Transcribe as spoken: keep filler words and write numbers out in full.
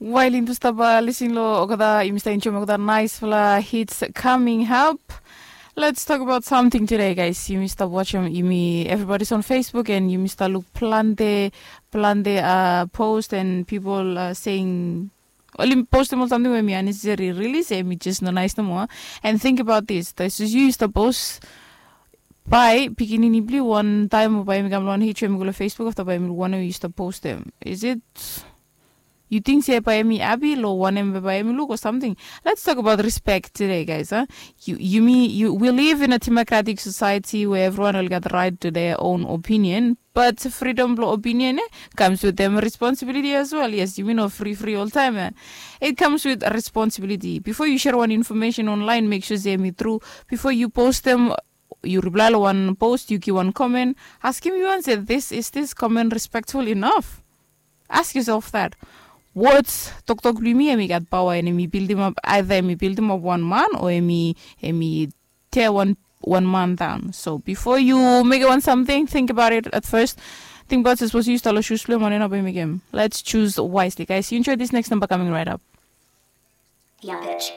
Wael yumi stap lisin long olgeta, yumi stap enjoim olgeta naispela hits coming up. Let's talk about something today, guys. Yumi stap watchim yumi, everybody's on Facebook, and yumi stap luk plante plante uh, post and people uh, saying oli postim ol samting we mi unnecessary release, em i just no nice no more. And think about this, this is you stap post bai pikinini bli wan taim o bai mi kam long wan hit we mi go long Facebook afta bai mi luk wanem you stap postim. Is it you think se bai mi abi lo wanem bai mi luk or something? Let's talk about respect today, guys, huh? You, you mean you, we live in a democratic society where everyone will get the right to their own opinion, but freedom blo opinion eh, comes with them responsibility as well. Yes, you mean of free free all time eh? It comes with a responsibility. Before you share one information online, make sure se mi true. Before you post them, you reply lo one post, you give one comment, ask him you and say, this is this comment respectful enough? Ask yourself that. Words, toktok blong yumi em i gat pawa and em i bildim ap, either em i bildim ap wan man o em i em i tear wan wan man down. So before you make one something, think about it at first. Think about it, suppose you start lo shoes blong em and enough em again. Let's choose wisely, guys. You enjoy this next number coming right up. Yeah, bitch.